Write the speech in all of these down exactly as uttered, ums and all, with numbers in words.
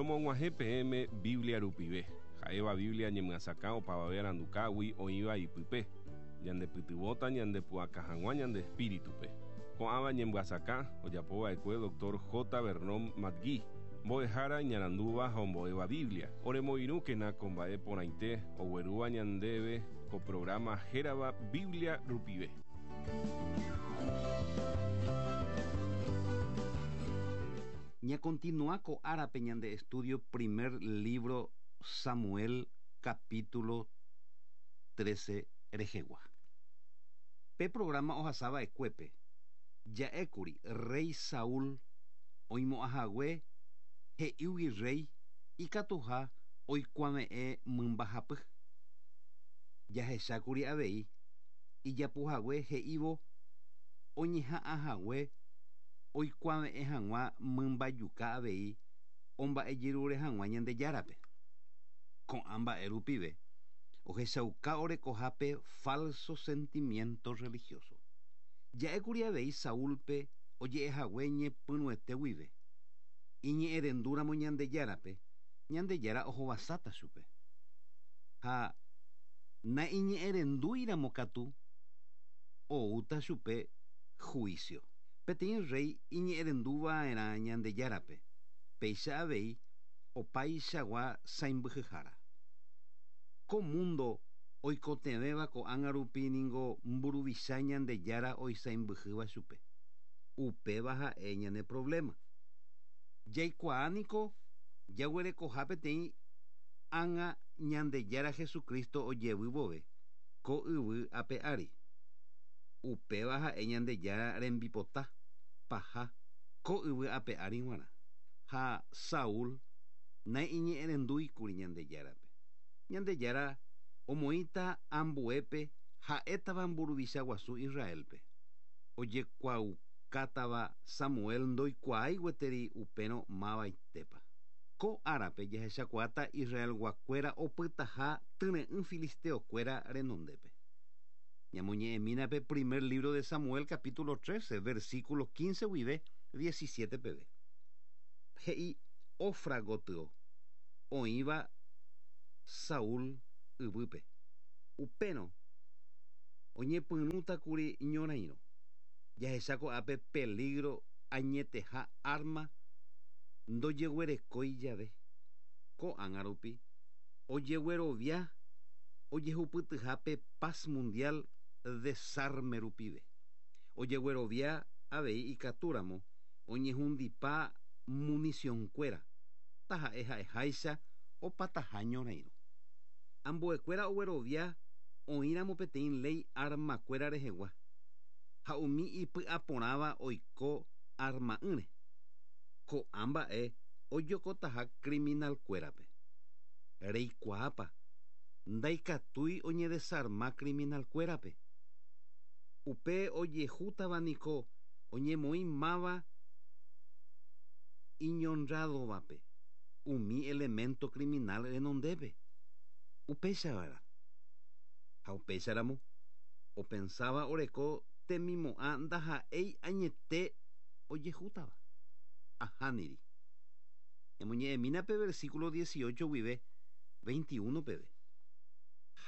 Romog̃uahẽ peẽme Biblia rupive. Ha'éva Biblia ñemyasakã opavave arandukágui oĩva ipype. Ñandepytyvõta ñandepu'aka hag̃ua ñande espíritupe. Ko'ãva ñemyasakã ojapova'ekue doctor J. Vernon McGee. Mbo'ehára iñarandúva ha ombo'éva Biblia. Oremoirũkena ko mba'e porãite oguerúva ñandéve ko programa hérava Biblia rupive. Ña continúa ko árape ñande estudio primer libro Samuel capítulo trece rehegua. Pe programa ohasava'ekuépe ja'ékuri rey Saúl oimo'ãhague he'ígui rey ikatuha oikuave'ẽ mymbahapy. Jahechákuri avei ijapuhague he'ívo oñeha'ãhague oikuave'ẽ hag̃ua mymbajuka avei omba'ejerure hag̃ua Ñandejárape. Ko'ã mba'e rupive ohechauka orekohápe falso sentimiento religioso. Ja'ékuri avei Saúlpe oje'ehague ñepyrũete guive. Iñe'ẽrendúramo Ñandejárape, Ñandejára ohovasáta chupe. Ha naiñe'ẽrendúiramo katu oúta chupe juicio. Peteĩ rey iñe'ẽrenduva'erã Ñandejárape, péicha avei opaichagua sãimbyhyhára. Ko mundo oikotevẽva ko'ág̃a rupi ningo mburuvicha Ñandejára oisãimbyhýva chupe. Upéva ha'e ñane problema. Jaikuaániko jaguerekoha peteĩ ág̃a Ñandejára Jesucristo ojevy ko yvy ape ári. Upéva ha'e Ñandejára rembipota paha ko yvy ape ári g̃uarã. Ha Saúl naiñe'ẽrendúikuri Ñandejárape. Ñandejára omoĩta ambuépe ha'étava mburuvicha guasu Israelpe. Ojekuaukátava Samuel ndoikuaái gueteri upérõ mavaitépa. Ko árape jahechakuaáta Israelguakuéra opytaha tyre'ỹ filisteokuéra renondépe. Ñamoñe'ẽmína pe primer libro de Samuel capítulo trece, versículo quince guive diecisiete peve. He'i Ofra gotyo oĩva Saúl yvýpe. Upérõ oñepyrũtakuri ñorairõ. Jahecha ko'ápe peligro añeteha arma ndojeguerekói jave. Ko'ág̃a rupi ojeguerovia ojehupytyhápe paz mundial desarme rupive. Ojeguerovia avei ikatúramo oñehundipa municiónkuéra taha'e ha'eháicha opataha ñorairõ. Ambuekuéra oguerovia oĩramo peteĩ ley armakuéra rehegua ha umi ipy'aporãva oiko arma'ỹre. Ko'ã mba'e ojokotaha criminalkuérape. Reikuaápa ndaikatúi oñedesarma criminalkuérape. Upe ojehútava niko oñemoĩ máva iñonradovape umi elemento criminal renondépe. Upéichava'erã. Ha upéicharamo opensáva oreko temimo'ã ndaha'éi añete ojehútava. Ahániri. Ñamoñe'ẽmína pe versículo dieciocho guive veintiuno peve.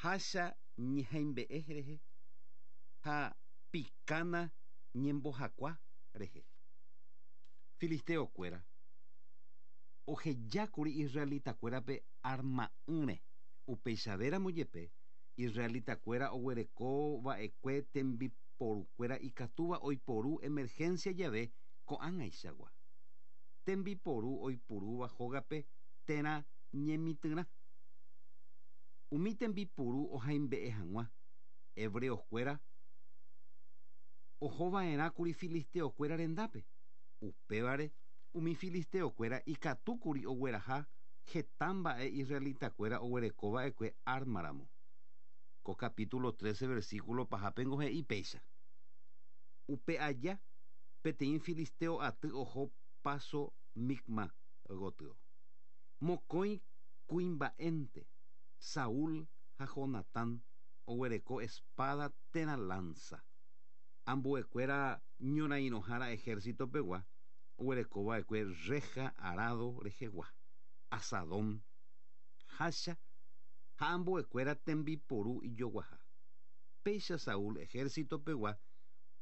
Hácha ñehaimbe'e rehe ha pikána ñembohakua rehe. Filisteokuéra ohejákuri israelitakuérape arma'ỹre. Upeichavéramo jepe israelitakuéra oguerekova'ekue tembiporukuéra ikatúva oiporu emergencia jave ko'ág̃aichagua. Tembiporu oipurúva hógape térã ñemitỹrã. Umi tembipuru ohaimbe'e hag̃ua hebreoskuéra ohova'erãkuri filisteokuéra rendápe. Upévare umi filisteokuéra ikatúkuri ogueraha heta mba'e israelitakuéra oguerekova'ekue ármaramo. Ko capítulo trece versículo pahápengo he'i péicha. Upe aja peteĩ filisteo aty oho paso Micma gotyo. Mokõi kuimba'énte Saúl ha Jonatán oguereko espada térã lanza. Ambuekuéra ñorairõhára ejército pegua oguerekova'ekue reja arado rehegua. Asadón, hácha ha ambuekuéra tembiporu ijoguaha. Péicha Saúl ejército pegua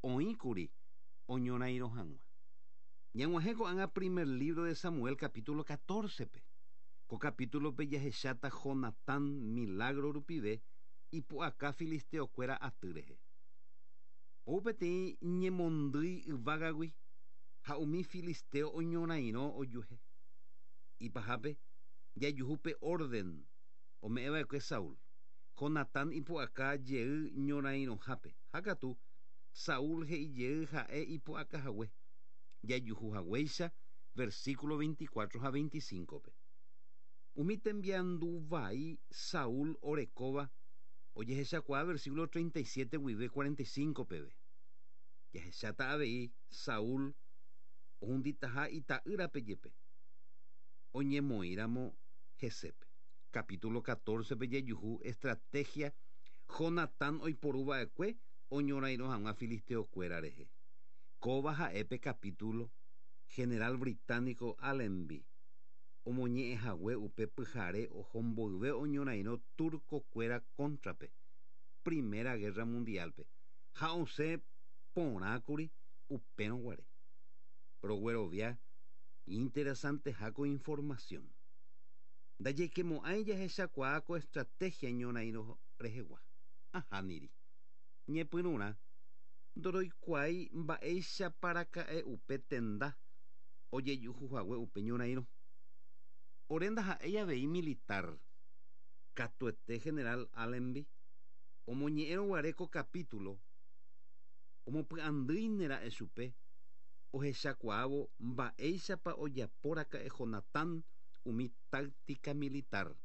oĩkuri oñorairõ hag̃ua. Ñag̃uahẽ ko'ág̃a primer libro de Samuel capítulo catorce-pe. Ko capítulo-pe jahecháta Jonatán milagro rupive ipu'aka filisteokuéra aty rehe. Ou peteĩ ñemondýi yvágagui ha umi filisteo oñorairõ ojuehe. Ipahápe jajuhu pe orden ome'ẽva'ekue Saúl. Jonatán ipu'aka jey ñorairõhápe. Ha katu Saúl he'i jey ha'e ipu'akahague. Jajuhu haguéicha versículo veinticuatro ha veinticinco-pe. Umi tembiandu vai Saúl orekóva ojehechakuaa versículo treinta y siete guive cuarenta y cinco peve. Jahecháta avei Saúl ohunditaha ita'ýrape jepe. Oñemoĩramo hesépe. Capítulo catorce-pe jajuhu estrategia Jonatán oiporuva'ekue oñorairõ hag̃ua filisteokuéra rehe. Kóva ha'e pe capítulo general británico Allenby omoñe'ẽhague upe pyhare ohomboyve oñorairõ turcokuéra contrape Primera Guerra Mundial-pe ha osẽ porãkuri upérõ guare. Roguerovia interesanteha ko información. Ndajeikemo'ãi jahechakuaa ko estrategia ñorairõ rehegua. Ahániri. Ñepyrũrã ndoroikuaái mba'éichaparaka'e upe tenda ojejuhuhague upe ñorairõ. Ore ndaha'éi avei militar. Katuete general Allenby omoñe'ẽrõ guare ko capítulo omopy'andýinera'e chupe ohechakuaávo mba'éichapa ojapóraka'e Jonatán umi táctica militar.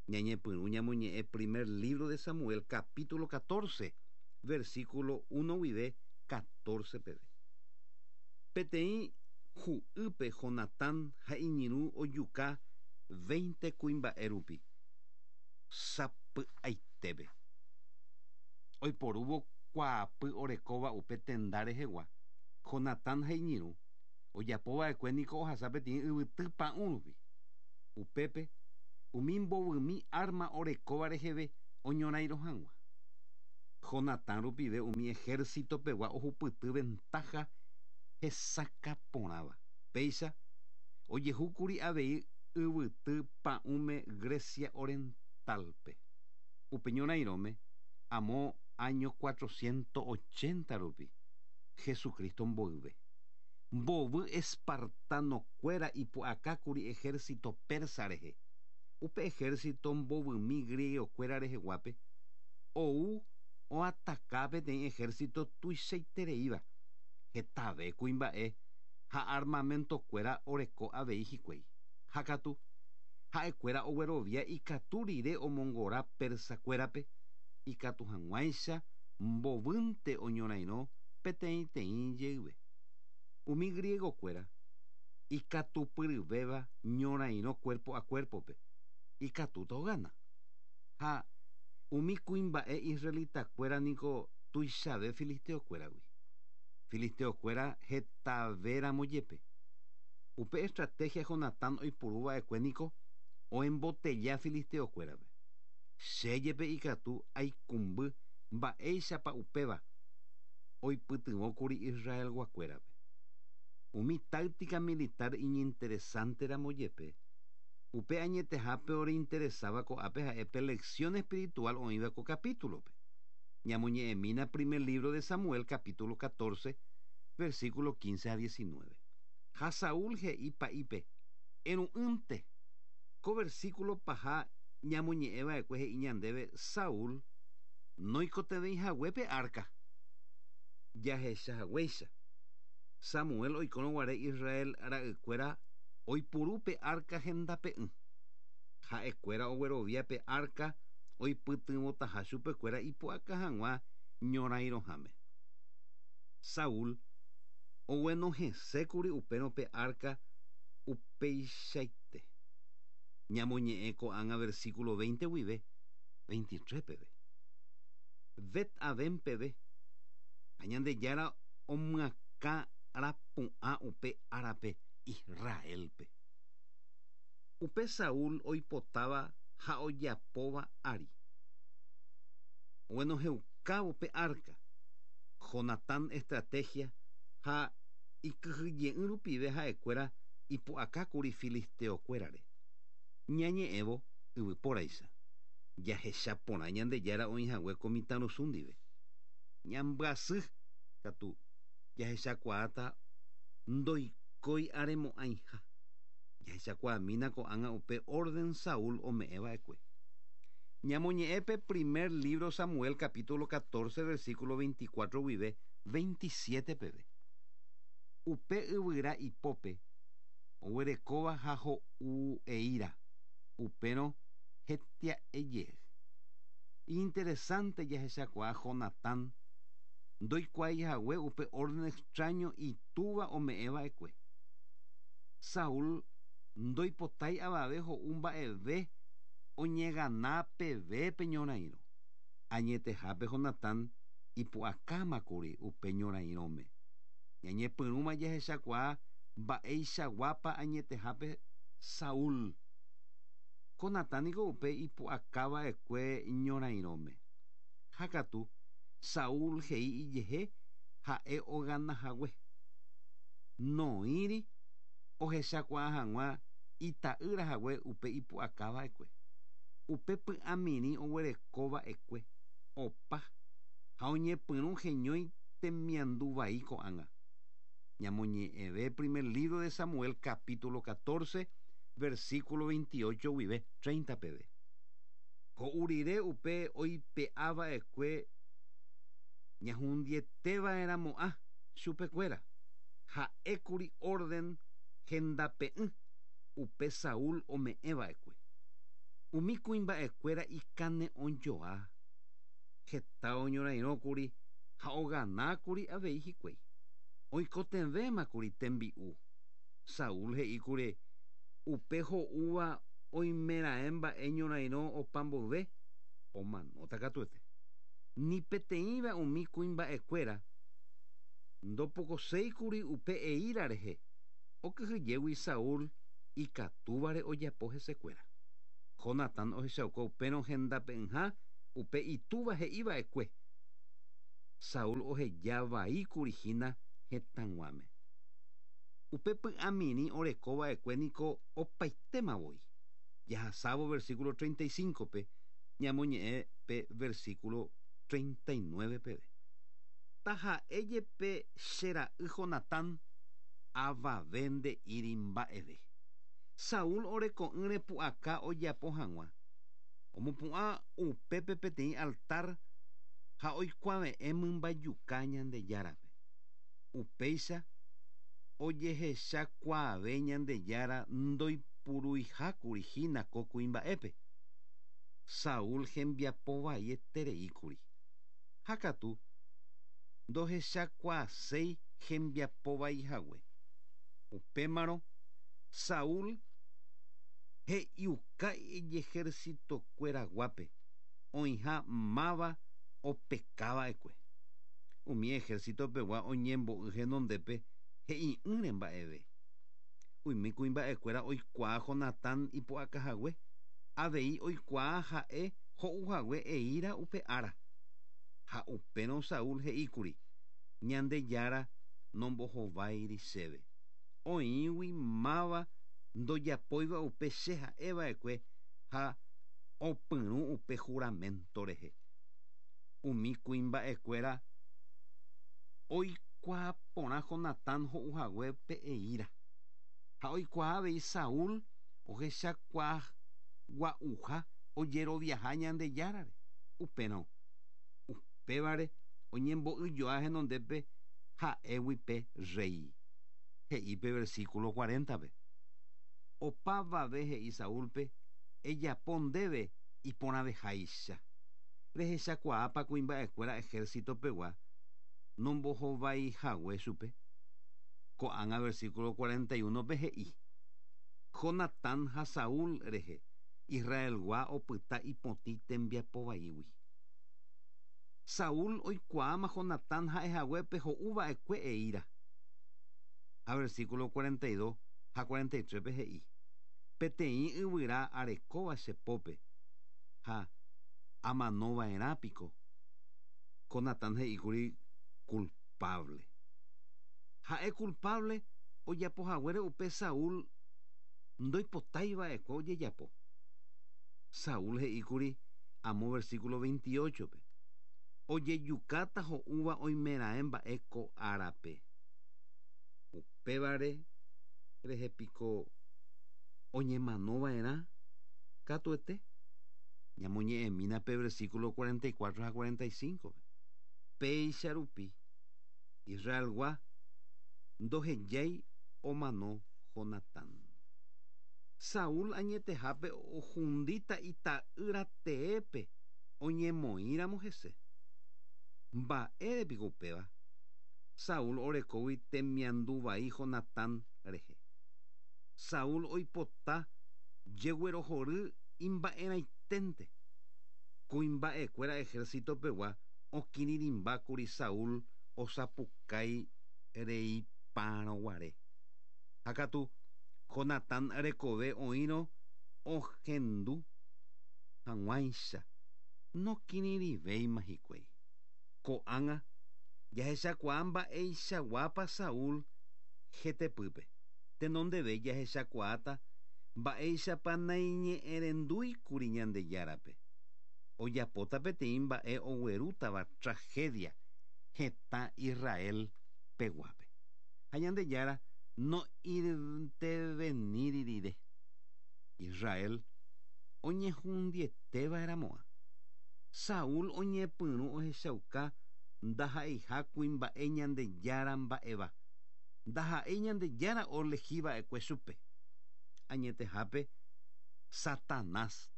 Ñañepyrũ ñamoñe'ẽ primer libro de Samuel capítulo catorce versículo uno guive catorce peve. Peteĩ hu'ýpe Jonatán ha iñirũ ojuka veinte kuimba'e rupi. Sapy'aitépe. Oiporúvo kuaapy orekóva upe tenda rehegua. Jonatán ha iñirũ ojapova'ekue niko ohasa peteĩ yvyty pa'ũ rupi. Upépe umi mbovymi arma orekóva reheve oñorairõ hag̃ua. Jonatán rupive umi ejército pegua ohupyty ventaja hesakaporãva. Péicha ojehúkuri avei yvyty pa'ũme Grecia Oriental-pe. Upe ñorairõme amo año cuatrocientos ochenta rupi Jesucristo mboyve. Mbovy espartanokuéra ipu'akákuri ejército persa rehe. Upe ejército mbovymi griegokuéra reheguápe ou oataka peteĩ ejército tuichaitereíva. Hetave kuimba'e ha armamentokuéra oreko avei hikuái. Ha katu ha'ekuéra oguerovia ikatu rire omongora persakuérape ikatu hag̃uáicha mbovýnte oñorairõ peteĩteĩ jeyve. Umi griegokuéra ikatupyryvéva ñorairõ cuerpo a cuerpo-pe ikatúta ogana. Ha umi kuimba'e israelitakuéra niko tuichave filisteokuéragui. Filisteokuéra hetavéramo jepe. Upe estrategia Jonatán oipuruva'ekue niko oembotella filisteokuérape. Che jepe ikatu aikumby mba'éichapa upéva oipytyvõkuri Israelguakuérape. Umi táctica militar iñinteresanteramo jepe, upe añetehápe oreinteresáva ko'ápe ha'e lección espiritual oĩva ko capítulo-pe. Ñamoñe'ẽmína primer libro de Samuel capítulo catorce versículo quince a diecinueve. Ha Saúl he'i pa'ípe eru'ỹnte. Ko versículo paha ñamoñe'ẽva'ekue he'i ñandéve Saúl noikotevẽihaguépe arca. Jahechahaguéicha. Samuel oikórõ guare Israel ra'ykuéra oipurupe arca hendape'ỹ. Ha'ekuéra ogueroviápe arca oipytyvõtaha chupekuéra ipu'aka hag̃ua ñorairõháme. Saúl oguenohẽsékuri upérõ pe arca upeichaite. Ñamoñe'ẽ ko'ág̃a versículo veinte guive veintitrés peve. Bet-Aven peve. Ha Ñandejára omyakã rapu'ã upe árape Israelpe. Upe Saúl oipotáva ha ojapóva ári. Oguenohẽukávo pe arca. Jonatán estrategia ha ikyhyje'ỹ rupive ha'ekuéra ipu'akákuri filisteokuérare. Ñañe'ẽvo yvypóraicha. Jahechaporã Ñandejára oĩhague ko mitãrusu ndive. Ñambyasy katu jahechakuaáta ndoikói aremo'ãiha. Jahechakuaamína ko'ág̃a upe orden Saúl ome'ẽva'ekue. Ñamoñe'ẽpe primer libro Samuel capítulo catorce versículo veinticuatro guive veintisiete peve. Upe yvyra ipópe oguerekóva ha ho'u eíra. Upérõ hetia'eje. Interesante jahechakuaa Jonatán ndoikuaaihague upe orden extraño itúva ome'ẽva'ekue. Saúl ndoipotái avave ho'u mba'eve oñegana peve pe ñorairõ. Añetehápe Jonatán ipu'akámakuri upe ñorairõme. Ñañepyrũma jahechakuaa mba'eichaguápa añetehápe Saúl. Jonatán niko upe ipu'akava'ekue ñorairõme. Ha katu Saúl he'i ijehe ha'e oganahague. Noĩri ohechakuaa hag̃ua ita'ýrahague upe ipu'akava'ekue. Upe py'amirĩ oguerekova'ekue opa ha oñepyrũ heñói temiandu vai ko'ág̃a. Ñamoñe'ẽve primer libro de Samuel capítulo catorce versículo veintiocho guive treinta peve. Ho'u rire upe oipe'ava'ekue ñahundieteva'erãmo'ã chupekuéra. Ha'ékuri orden hendape'ỹ upe Saúl ome'ẽva'ekue. Umi kuimba'ekuéra ikane'õjoa. Heta oñorairõkuri ha oganákuri avei hikuái. Oikotevẽmakuri tembi'u. Saúl he'íkuri upe ho'úva oimeraẽ mba'e ñorairõ opa mboyve omanóta katuete. Ni peteĩva umi kuimba'ekuéra ndopokoséikuri upe eíra rehe. Okyhyjégui Saúl ikatúvare ojapo hesekuéra. Jonatán ohechauka upérõ hendape'ỹha upe itúva he'iva'ekue. Saúl ohejavaíkuri hína hetãguáme. Upe py'amirĩ orekova'ekue niko opaitémavoi. Jahasávo versículo treinta y cinco pe ñamoñe'ẽ pe versículo treinta y nueve peve. Taha'éjepe che ra'y Jonatán avave nde'íri mba'eve. Saúl oreko'ỹre pu'aka ojapo hag̃ua. Omopu'ã upépe peteĩ altar ha oikuave'ẽ mymbajuka Ñandejárape. Upéicha ojehechakuaave Ñandejára ndoipuruihákuri hína ko kuimba'épe. Saúl hembiapovaietereíkuri. Ha katu ndohechakuaaséi hembiapovaihague. Upémarõ Saúl he'iuka ijejercitokueraguápe oĩha máva opekava'ekue. Umi ejército pegua oñembo'y henondépe he'i'ỹre mba'eve. Umi kuimba'ekuéra oikuaa Jonatán ipu'akahague. Avei oikuaa ha'e ho'uhague eíra upe ára. Ha upérõ Saúl he'íkuri Ñandejára nombohováiri chéve. Oĩgui máva ndojapóiva upe che ha'eva'ekue ha opyrũ upe juramento rehe. Umi kuimba'ekuéra oikuaa porã Jonatán ho'uhague pe eíra. Ha oikuaa avei Saúl ohechakuaa gua'uha ojeroviaha Ñandejárare. Upérõ upévare oñembo'yjoa henondépe ha'égui pe rey. He'i pe versículo cuarenta-pe. Opavave he'i Saúlpe ejapo ndéve iporãveháicha. Rehechakuaápa kuimba'ekuéra ejército pegua nombohovaihague chupe. Ko'ág̃a versículo cuarenta y uno pe he'i Jonatán ha Saúl rehe Israelgua opyta ipotĩ tembiapovaígui. Saúl oikuaáma Jonatán ha'ehaguépe ho'uva'ekue eíra. Ha versículo cuarenta y dos ha cuarenta y tres pe he'i Peteĩ yvyra arekóva che pópe ha amanova'erã piko. Jonatán he'íkuri culpable. Ha'e culpable ojapohaguére upe Saúl ndoipotáiva'ekue ojejapo. Saúl he'íkuri amo versículo veintiocho-pe. Ojejukáta ho'úva oimeraẽ mba'e ko árape. Upévare rehe piko oñemanova'erã katuete. Ñamoñe'ẽmína pe versículo cuarenta y cuatro ha cuarenta y cinco-pe. Péicha rupi Israelgua ndohejái omano Jonatán. Saúl añetehápe ohundíta ita'ýra teépe oñemoĩramo hese. Mba'ére piko upéva? Saúl orekógui temianduvai Jonatán rehe. Saúl oipota jeguerohory imba'erãiténte. Kuimba'ekuéra ejército pegua okirirĩmbákuri Saúl osapukái reipárõguare. Ha katu Jonatán rekove oĩrõ ohendu hag̃uáicha nokirirĩvéima hikuái. Ko'ág̃a jahechakuaa mba'eichaguápa Saúl hetepýpe. Tenondeve jahechakuaáta mba'éichapa naiñe'ẽrendúikuri Ñandejárape. Ojapóta peteĩ mba'e oguerútava tragedia hetã Israel peguápe. Ha Ñandejára nointerveníri rire. Israel oñehundietéva'erãmo'ã. Saúl oñepyrũ ohechauka ndaha'eiha kuimba'e Ñandejára mba'éva. Ndaha'éi Ñandejára olehíva'ekue chupe. Añetehápe Satanás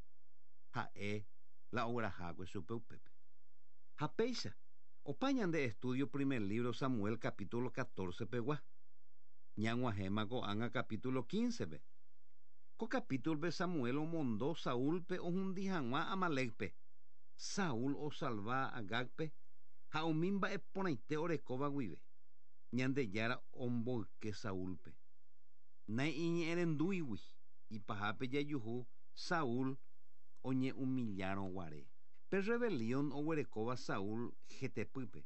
ha'e la oguerahákue chupe upépe. Ha péicha opa ñande estudio primer libro Samuel capítulo catorce pegua. Ñag̃uahẽma ko'ág̃a capítulo quince-pe. Ko capítulo-pe Samuel omondo Saúlpe ohundi hag̃ua Amalékpe. Saúl osalva Agágpe ha umi mba'e porãite orekóva guive. Ñandejára omboyke Saúlpe. Naiñe'ẽrendúigui ipahápe jajuhu Saúl oñehumillárõguare. Pe rebelión oguerekóva Saúl hetepýpe.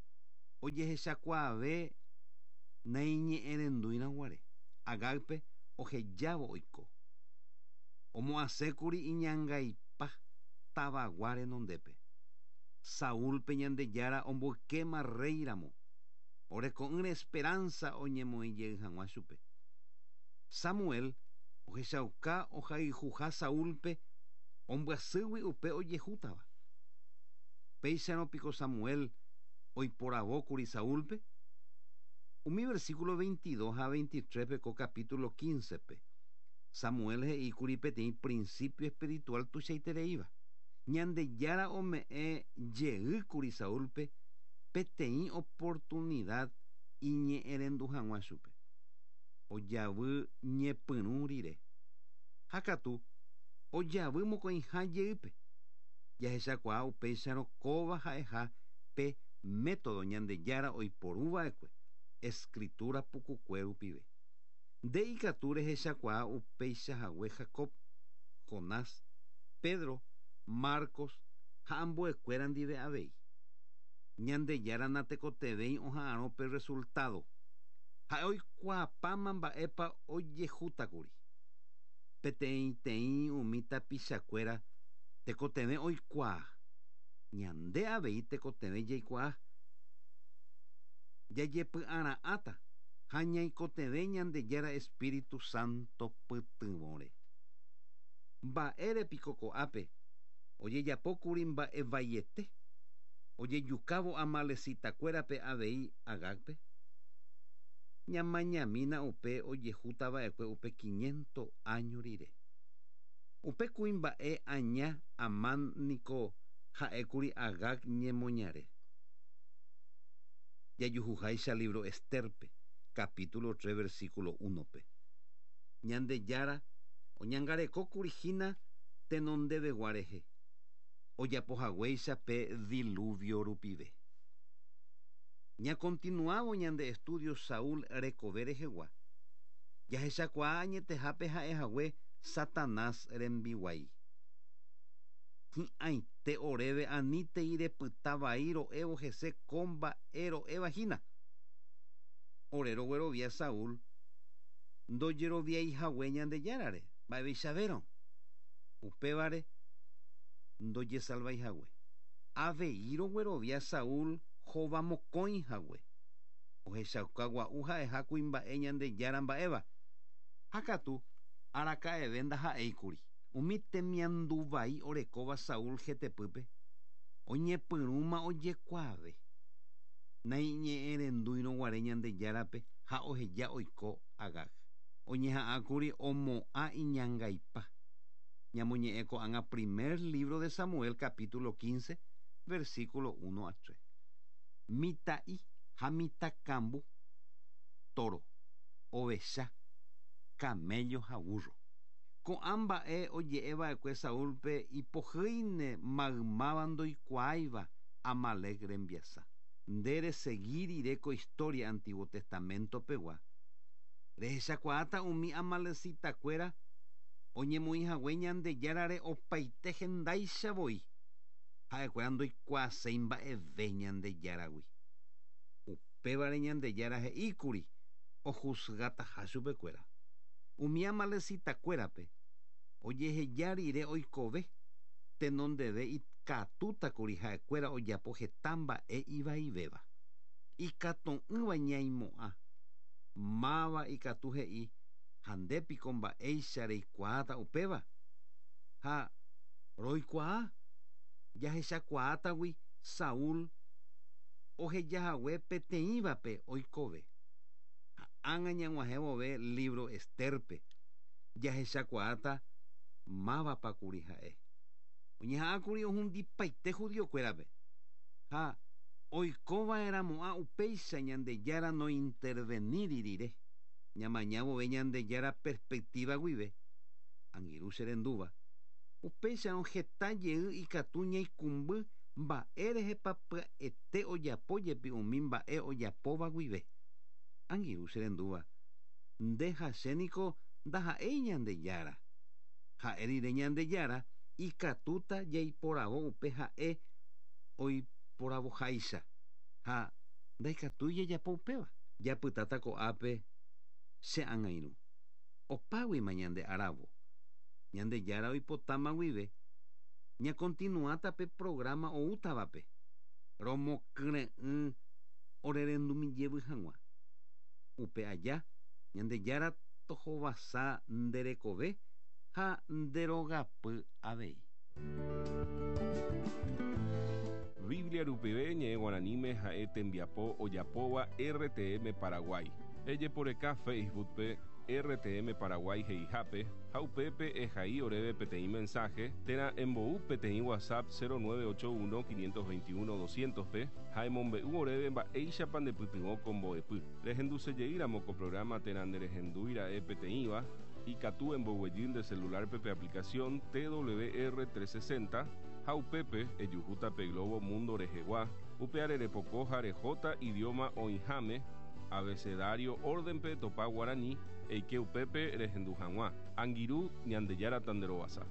Ojehechakuaave naiñe'ẽrendúirõguare. Agágpe ohejávo oiko. Omo'ãsékuri iñangaipa tavagua renondépe. Saúlpe Ñandejára omboykéma rréiramo. Oreko'ỹre esperanza oñemoĩjey hag̃ua chupe. Samuel ohechauka ohayhuha Saúlpe ombyasýgui upe ojehútava. Péicharõ piko Samuel oiporavókuri Saúlpe. Umi versículo veintidós ha veintitrés-pe ko capítulo quince-pe. Samuel he'íkuri peteĩ principio espiritual tuichaitereíva. Ñandejára ome'ẽ jeýkuri Saúlpe peteĩ oportunidad iñe'ẽrendu hag̃ua chupe. Ojavy ñepyrũ rire. Ha katu ojavy mokõiha jeýpe. Jahechakuaa upéicharõ kóva ha'eha pe método Ñandejára oiporúva'ekue escritura pukukue rupive. Nde ikatu rehechakuaa upeichahague Jacob, Jonás, Pedro, Marcos ha ambuekuéra ndive avei. Ñandejára natekotevẽi oha'arõ pe resultado. Ha'e oikuaapáma mba'épa ojehútakuri. Peteĩteĩ umi tapichakuéra tekotevẽ oikuaa. Ñande avei tekotevẽ jaikuaa. Jajepy'ara'ãta ha ñaikotevẽ Ñandejára Espíritu Santo pytyvõre. Mba'ére piko ko'ápe ojejapókuri mba'e vaiete ojejukávo amalecitakuérape avei Agágpe. Ñamañamína upe ojehútava'ekue upe quinientos año rire. Upe kuimba'e aña Amán niko ha'ékuri Agag ñemoñare. Jajuhuháicha libro Esterpe, capítulo tres, versículo uno-pe. Ñandejára oñangarekókuri hína tenondevegua rehe. Ojapohaguéicha pe diluvio rupive. Ñakontinuávo ñande estudio Saúl rekove rehegua. Jahechakuaa añetehápe ha'ehague Satanás rembiguái. Hi'ãite oréve anítei repyta vai ro'évo hese ko mba'e ro'evahína. Ore roguerovia Saúl ndojeroviaihague Ñandejárare mba'eveichavérõ. Upévare ndojesalvaihague. Avei roguerovia Saúl hovamokõihague. Ohechauka gua'u ha'eha kuimba'e Ñandejára mba'éva. Ha katu araka'eve ndaha'éikuri. Umi temianduvai orekóva Saúl hetepýpe oñepyrũma ojekuaave. Naiñe'ẽrendúirõguare Ñandejárape ha oheja oiko Agag. Oñeha'ãkuri omo'ã iñangaipa. Ñamoñe'ẽ ko'ág̃a primer libro de Samuel capítulo quince versículo uno a tres. Mita'i ha mitãkambu, toro, ovecha, camello ha burro. Ko'ã mba'e oje'eva'ekue Saúlpe ipohýine maymáva ndoikuaáiva Amalec rembiasa. Nde resegi rire ko historia Antiguo Testamento pegua. Rehechakuaáta umi amalecitakuéra oñemoĩhague Ñandejárare opaite hendáichavoi. Ha'ekuéra ndoikuaaséi mba'eve Ñandejáragui. Upévare Ñandejára he'íkuri ojuzgataha chupekuéra. Umi amalecitakuérape ojeheja rire oikove tenondeve ikatútakuri ha'ekuéra ojapo heta mba'e ivaivéva. Ikatu'ỹva ñaimo'ã. Máva ikatu he'i ha ndépiko mba'éicha reikuaáta upéva. Ha roikuaa jahechakuaátagui Saúl ohejahague peteĩvape oikove. Ha ág̃a ñag̃uahẽvove libro Esterpe jahechakuaáta mávapakuri ha'e. Oñeha'ãkuri ohundipaite judiokuérape. Ha oikova'erãmo'ã upéicha Ñandejára nointerveníri rire. Ñamañávove Ñandejára perspectiva guive. Angirũ che rendúva. Upéicharõ heta jey ikatu ñaikũmby mba'érehepa pya'ete ojapo jepi umi mba'e ojapóva guive. Angirũ che rendúva. Nde ha chéniko ndaha'éi Ñandejára. Ha'e rire Ñandejára ikatúta jaiporavo upe ha'e oiporavoháicha. Ha ndaikatúi jajapo upéva. Japytáta ko'ápe che angirũ. Opáguima ñande aravo. Ñandejára oipotáma guive ñakontinuáta pe programa oútavape. Romokyre'ỹ orerendumijevy hag̃ua. Upe aja Ñandejára tohovasa nderekove ha nderogapy avei. Biblia rupive ñe'ẽ guaraníme ha'e tembiapo ojapóva R T M Paraguay. Ejeporeka Facebookpe R T M Paraguay he'ihápe ha upépe ehai oréve peteĩ mensaje térã embou peteĩ WhatsApp cero nueve ocho uno quinientos veintiuno doscientos pe ha emombe'u oréve mba'éichapa ndepytyvõ ko mbo'epy. Rehendusejeýramo ko programa térã nderehendúira'e peteĩva ikatu emboguejy nde celularpe pe aplicación T W R trescientos sesenta ha upépe ejuhúta pe Globo Mundo rehegua upe arerepoko ha rehóta idioma oĩháme abecedario órdenpe topa guarani eike upépe rehendu hag̃ua. Angirũ Ñandejára tanderovasa.